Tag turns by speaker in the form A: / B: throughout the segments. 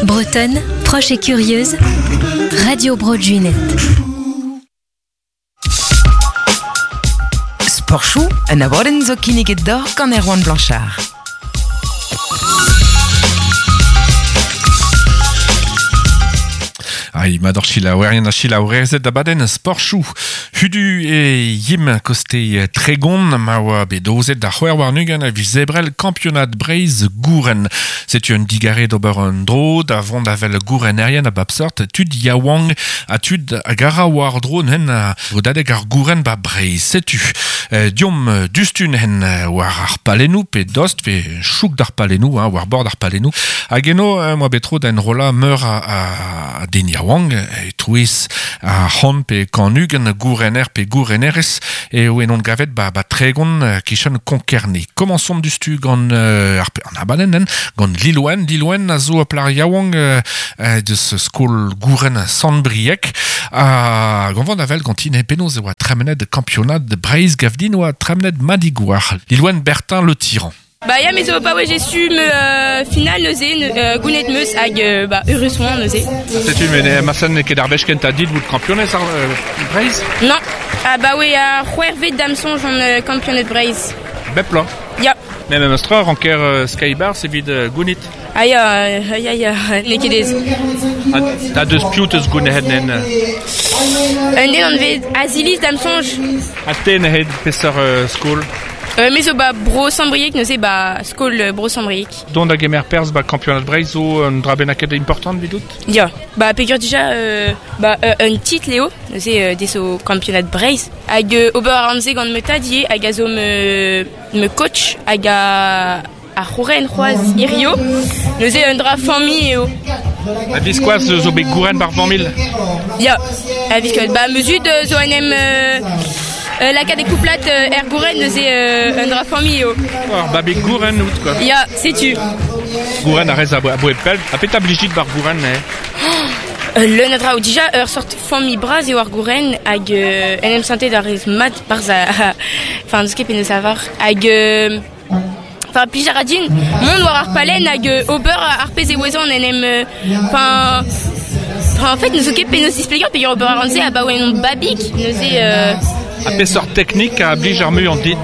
A: Bretonne, proche et curieuse, Radio Bro Junet.
B: Sportchoù, un abadenn zo kinniget deoc'h gant Erwan Blanchard.
C: Ai, mat ur selaouerien ha selaourezed abadenn sportchoù. Hudu e yim koste Tregon ma oa bet dozet da c'hwec'h warn-ugent a viz Ebrel kampionad Breizh gouren. Setu un digarez d'ober un dro da vont da wel gourenerien a bep seurt, tud yaouank ha tud hag a ra war-dro n'hen bodadeg ar gouren ba Breizh. Setu deomp dustun hen war ar palennoù pe dost pe chouk d'ar palennoù, hein, war bord ar palennoù. Hag eno moa bet tro da enrollañ meur a, a den yaouank e-touez ar c'hant pe 120 gourener pe gourenerez eo en on gavet ba, ba Tregon kichen Konkerne. Komañsomp dustu gant ar, an abadenn hein, gant Lilouen. Lilouen a zo ur plac'h yaouank deus skol gouren Sant-Brieg. Ha gant vont avel ganti ne penaos e oa tremenet kampionad Breizh gavdin oa tremenet madigouar. Lilouen Bertin Le Tyran.
D: Ba ya, me zo pa oe jesu me final neuze, gounet meus hag ba eurus oan neuze.
C: Setu met ma n'eo ket ar wech kentañ dit bout kampionez ar Breizh?
D: Non. Ah ba oe ar c'hwec'hvet da'm soñj on kampioned Breizh.
C: Bep bloaz?
D: Ya.
C: Mais memes tra ranker Skybar evit gounit.
D: Ah ya, ya, ya, n'eo ket aes.
C: Ha deus piv teus gounezet nen?
D: Un den anvet Aziliz da'm soñj.
C: Ha te neuze peseurt skol?
D: Me zo ba Bro Sant-Brieg neuze ba skol Bro Sant-Brieg.
C: Dont da gemer perzh ba kampionad Breizh zo un dra bennaket important evidout?
D: Ya, ba peogwir dija ba un titl eo neuze dezo kampionad Breizh. Hag ober a ran se gant ma tad ivez hag a zo ma coach hag a Ar c'houren c'hoazh hirio, neuze un dra familh eo.
C: Ha biskoazh zo bet gouren bar familh?
D: Ya, ha biskoazh. Ba ma zud zo en em lakaat e kouplad er gouren, neuze un dra familh eo.
C: Ar babig gouren out quoi.
D: Ya, setu.
C: Gouren a rez aboe pell. Ha petra blijit bar gouren eh?
D: Leun a draoù. Dija ur sort familh bras eo ar gouren hag en em santet a rez mat barzh Enfin, n'eus ket penaos lavar. Hag Enfin, plij a ra din mont war ar palenn hag ober ar pezh e ouezan en em... Enfin, en fait, n'eus ket penaos displegañ peogwir ober a ran se abaoe on babig, neuze...
C: Ha peseurt teknik a blij ar muiañ dit?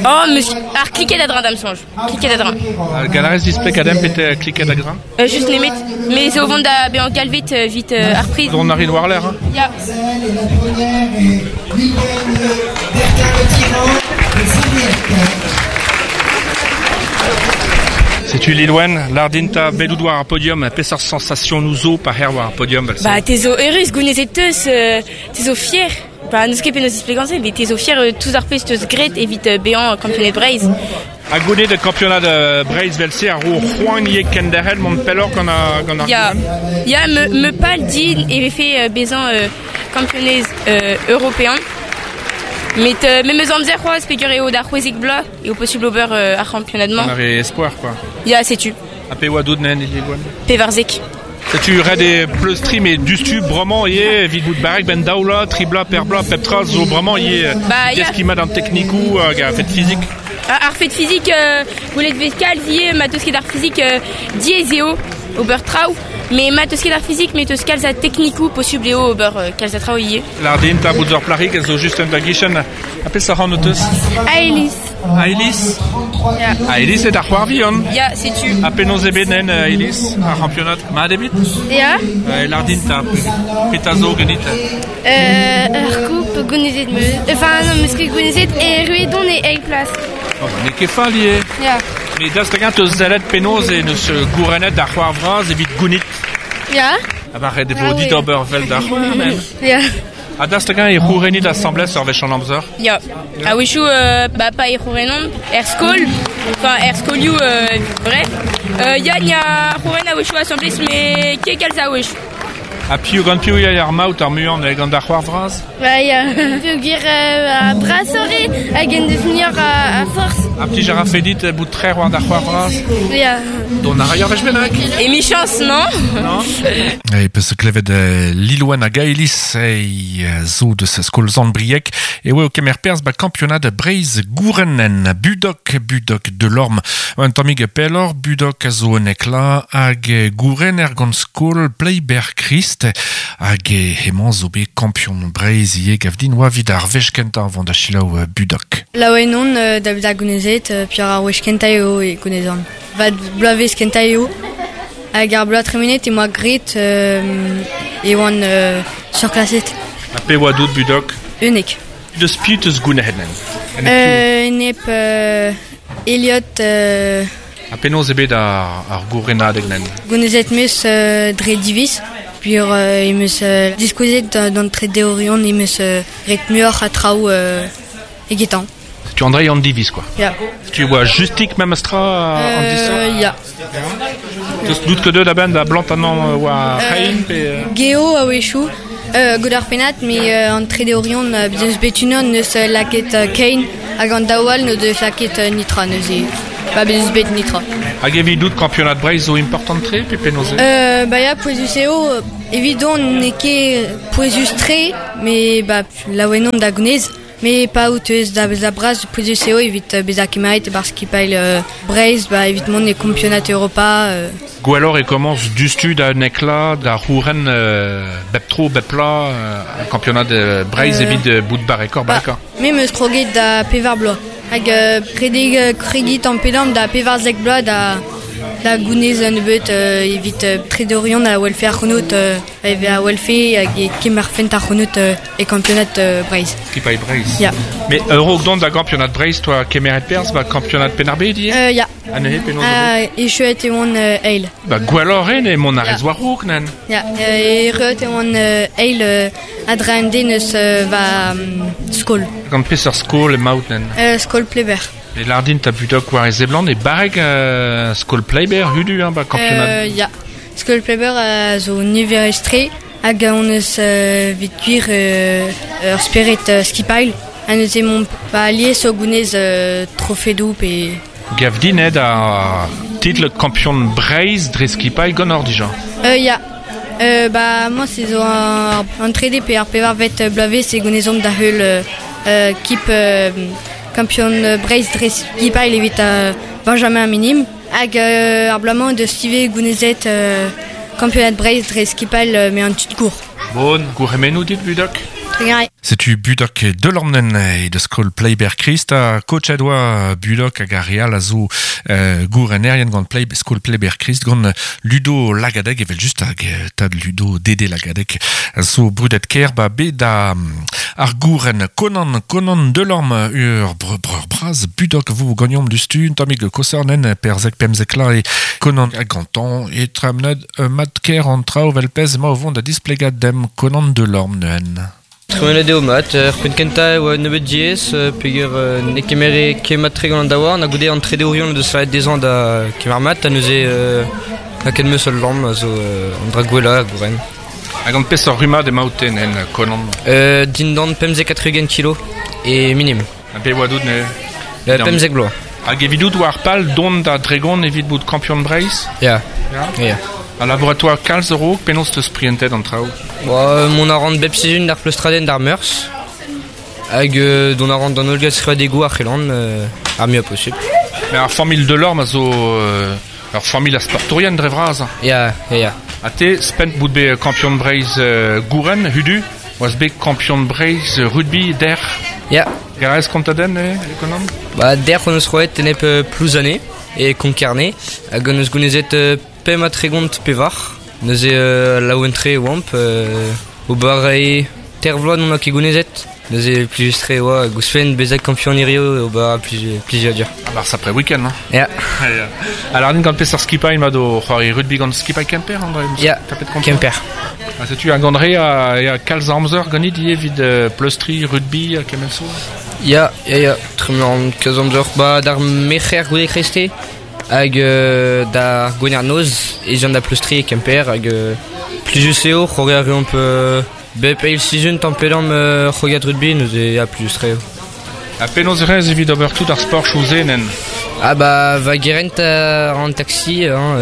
D: Oh, meus ar kliket a-dreñv da'm soñj. Kliket a-dreñv.
C: Gall a rez displegañ dimp pet kliket a-dreñv?
D: Just nemet, me zo o vont da bezañ galvet evit ar priz.
C: Dont a rin war-lerc'h, hein?
D: Ya.
C: Setu Lilwen, lardin 'ta bet out war ar podium, peseurt sensationoù zo pa c'her war ar podium vel-se?
D: Ba, te zo eurus, gounezet teus, te zo fier. Ba, n'eus ket penaos displegañ se, met te zo fier tous ar pezh teus graet evit bezañ kampioned Breizh.
C: Ha goude kampionad Breizh vel-se a ro c'hoant ivez kenderc'hel mont pelloc'h gant ar gant ar
D: Ya, ya me, me pal din e vefe bezañ kampionez european. Met memes amzer c'hoazh peogwir eo da 16 bloaz eo posubl ober ar c'hampionad-mañ.
C: Gant ar re espoir quoi.
D: Ya, setu.
C: Ha pe oa dout nen Lilwen?
D: 14.
C: Setu ret eo pleustriñ met diouzhtu bremañ ivez evit bout barrek benn daou vloaz, tri bloaz, per bloaz, pep tra zo bremañ ivez
D: Ba, ya.
C: deskiñ mat an teknikoù hag ar fed fizik.
D: Ar fed fizik, gwelet 'vez kalz ivez, ma 'teus ket ar fizik diaes eo ober traoù, met ma 'teus ket ar fizik, met 'teus kalz a teknikoù, posubl eo ober kalz a traoù ivez.
C: Lardin 'ta bout ur plac'hig a zo just en da gichen. Ha peseurt anv 'teus?
D: Aelis.
C: Aelis?
D: Ya.
C: Aelis eo da c'hoar vihan?
D: Ya, setu.
C: Ha penaos eo bet nen Aelis, ar c'hampionad? Mat eo bet?
E: Ya.
C: Lardin 'ta, petra zo ganit?
E: Ur coupe gounezet 'meus. Enfin non, 'meus ket gounezet, erruet on e eil plas.
C: Oh, ba n'eo ket fall ivez.
E: Ya.
C: Met daoust hag-eñ 'teus sellet penaos e neus gourennet ar c'hoar vras evit gounit?
E: Ya.
C: Ha ba ret e vo dit ober 'vel da c'hoar même.
E: Ya.
C: Ha daoust hag-eñ e c'hourennit asambles ur wech an amzer?
D: Ya. A-wechoù ba pa e c'hourennomp er skol, enfin er skolioù bref. Ya, ni a c'houren a-wechoù asambles, met ket kalz a wechoù.
C: Ha piv gant piv ya ar maout ar muiañ gant ar c'hoar vras?
E: Ba ya, peogwir a brasoc'h eo hag en deus muioc'h a forzh.
C: Ha plij a rafe dit bout trec'h war da c'hoar vras?
E: Ya.
C: Dont a ray ur wech bennak?
D: Emichañs, non?
C: Non? E peus klevet Lilouen hag Aelis e zo deus skol Sant-Brieg e oa o kemer perzh ba kampionad Breizh Gourennen Budok, Budok Delorme. Un tammig pelloc'h, Budok a zo un ekla hag gourenner gant skol Pleiber-Christ hag hemañ zo bet kampion Breizh ivez gav din oa evit ar wech kentañ vont da selaou Budok.
F: Laouen on da vezañ gounezet, peogwir ar wech kentañ eo e gounezan. Va bloavezh kentañ eo. Hag ar bloaz tremenet e moa graet e oan surklaset.
C: Ha pe oa dout Budok?
F: 11.
C: Deus piv teus gounezet
F: Enep Elliot.
C: Ha penaos eo bet ar gourenadeg nen?
F: Gounezet 'meus dre diviz. Peogwir em eus diskouezet d'an tredeourion em eus graet muioc'h a traoù egetañ.
C: Setu Andrei an diviz quoi.
F: Ya.
C: Tu oa justik memes tra an disoc'h?
F: Ya.
C: Teus dout ket deuet a-benn da blantañ war c'hein pe...
F: Geo a-wechoù. Goude ar pennad, met an tredeourion bez eus bet unan neus lakaet kein hag an daou all n'o deus lakaet nitra neuze. Ba bez eus bet nitra.
C: Hag evidout kampionad Breizh zo important-tre pe penaos eo?
F: Ba ya, pouezus eo. Evidon n'eo ket pouezus-tre, met ba laouen on da gounez. Met pa out eus da vezañ bras pouezus eo evit bezañ kemeret e-barzh skipailh Breizh ba evit mont e kampionad Europa.
C: Gwelloc'h e komañs diouzhtu da un eklat da c'houren bep tro, bep plat kampionad Breizh evit bout barrekoc'h, barrekoc'h.
F: Me 'm eus kroget da pevar bloaz. Hag redek kregiñ tamm-pe-damm da 14 bloaz da gounez un nebeud evit tredeorion a welfe ac'hanout a welfe hag e kemerfent ac'hanout e kampionad Breizh.
C: Skipailh Breizh.
F: Ya.
C: Mais a-raok dont da gampionad Breizh, toa kemeret perzh ba kampionad Penn-ar-Bed ivez?
F: Ya.
C: Ha neuze penaos
F: Echuet e oan eil.
C: Ba gwelloc'h eo mont a rez war-raok, nann?
F: Ya, erruet e oan eil a-dreñv den eus va skol.
C: Gant peseurt skol emaout, nann?
F: Skol Pleber.
C: E lâr din ta Budok war e seblant e barrek skol Pleber hudu, hein, ba kampionad?
F: Ya. Skol Pleber a zo niverus-tre hag hon eus evit gwir ur spered skipailh. Ha neuze momp ba alies o gounez trofedoù pe...
C: Gav din eo da titl kampion Breizh dre skipailh ganeoc'h dija.
F: Ya. Ba moi c'est zo an trede pe ar pevarvet bloavezh e gounezomp da heul kip kampion Breizh dre skipailh evit Benjamin Minim. Hag ar bloaz-mañ deus ivez gounezet kampionad Breizh dre skipailh met an tud gour.
C: Bon, gourc'hemennoù dit, Budok.
F: Trugarez.
C: Setu Budok Delormen e deus skol Pleiber-Christ ha koachet oa Budok hag ar re all a zo gourenerien gant Plei, skol Pleiber-Christ gant Ludo Lagadeg evel just hag tad Ludo Dede Lagadeg a zo brudet ker ba bet da ar gouren Conan Conan Delorme ur breur bras Budok vo gagnomp dustu un tammig kosernen perzek pemzek la e Conan hag gantañ e tremnet mat ker an traoù vel pezh emañ o vont da displegañ demp Conan Delorme neuzen.
G: Tremenet eo mat, er penn kentañ e oa nebeut diaes peogwir ne kemere ket mat-tre gant an daouarn ha goude an tredeourion o deus lavaret dezhañ da kemer mat ha neuze lakaet 'm eus ul lamm a zo an dra gwellañ a gouren.
C: Hag gant peseurt rummad emaout-te en Conan?
G: Dindan 75 kilo e minim.
C: Ha pe oa dout neuze?
G: 15 bloaz.
C: Hag evidout war pal dont da Dregon evit bout kampion Breizh?
G: Ya. Ya.
C: Ha labourat kalz a-raok, penaos teus prientet an traoù?
G: Ba, mont a ran bep sizhun d'ar pleustradenn d'ar Meurzh. Hag dont a ran d'an holl skrivadegoù ar c'helan ar muiañ posupl.
C: Mais ar familh Delorme a zo ur familh a sportourien dre vras.
G: Ya, ya, ya.
C: Ha te, spent bout bet kampion Breizh gouren, hudu, oas bet kampion Breizh rugby dec'h.
G: Ya.
C: Garez kontadenn, Conan?
G: Ba, dec'h hon eus roet enep Plouzane e Konk-Kerne hag hon eus gounezet 35. Neuze laouen-tre e oamp. Ober e ter vloaz n'on ket gounezet. Neuze plijus-tre e oa hag ouzhpenn bezañ kampion hirio ober plijadur.
C: Ah bah sapre week-end, hein?
G: Ya.
C: Alors, gant peseurt skipailh mat o c'hoari rugby gant skipailh Kemper, André?
G: Ya, Kemper.
C: Ha setu hag André a kalz amzer ganit ivez evit pleustriñ rugby ha kement zo?
G: Ya, ya, ya, tremen kalz amzer. Ba, d'ar merc'her goude kreiste hag d'ar gwener noz ez an da pleustriñ e Kemper hag Plijus eo, c'hoari a reomp bep eil sizhun tamm pe damm c'hoariad rugby, neuze ya, plijus-tre eo.
C: Ha penaos e rez evit ober tout ar sportoù se nen?
G: Ah bah, va gerent an taxi, hein,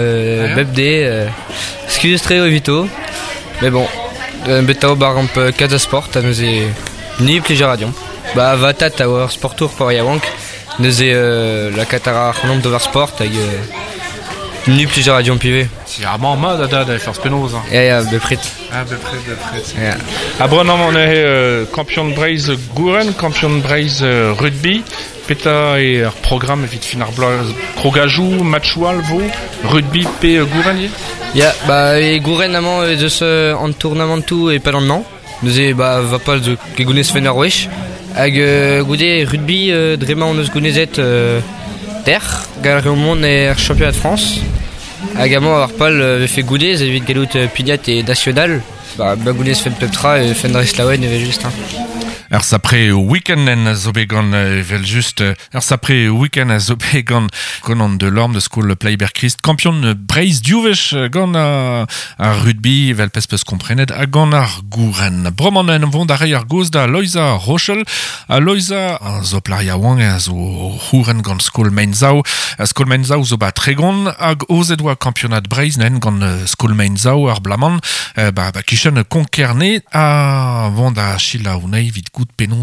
G: bep de, skuizh-tre eo evito. Mais bon, bet a ober amp kalz a sport, ha neuze ni plij a ra deomp. Ba va tad a oa ur sportour pa oa yaouank, neuze lakaat a ra ac'hanomp d'ober sport hag ni plij a ra deomp ivez.
C: C'est amañ mat a dad e forzh penaos. Hein.
G: Ya, ya, bepred.
C: Ah, bepred, bepred.
G: Ya.
C: Ha bremañ on eo kampion Breizh gouren, kampion Breizh rugby. Petra eo ar programm evit fin ar bloaz? Krogajoù, matchoù all vo? Rugby pe gouren ivez?
G: Ya, ba e gouren amañ ez eus an tournamantoù e-pad an hañv. Neuze ba va pal zo ket gounezfen ur wech. Hag goude rugby dre ma hon eus gounezet dec'h, gant ar reomp mont er championnat de France. Hag amañ ar pal vefe goude evit gallout pignat e national. Ba, ba gounezfen pep tra e fenn dreist laouen evel-just. Hein.
C: Ur sapre week-end en zo bet gant evel-just ur sapre week-end a zo bet gant Conan Delorme de skol Pleiber-Christ, kampion Breizh div wech gant ar rugby evel pezh peus komprenet ha gant ar gouren. Bremañ en vont da reiñ ar gaoz da Loeiza Rochel. Ha Loeiza a zo plac'h yaouank a zo c'houren gant skol Meinzao. Skol Meinzao zo ba Tregon hag aozet oa kampionad Breizh nen gant skol Meinzao ar blaman ba, ba kichen Konkerne a vont da selaou anezhi evit goût penaos.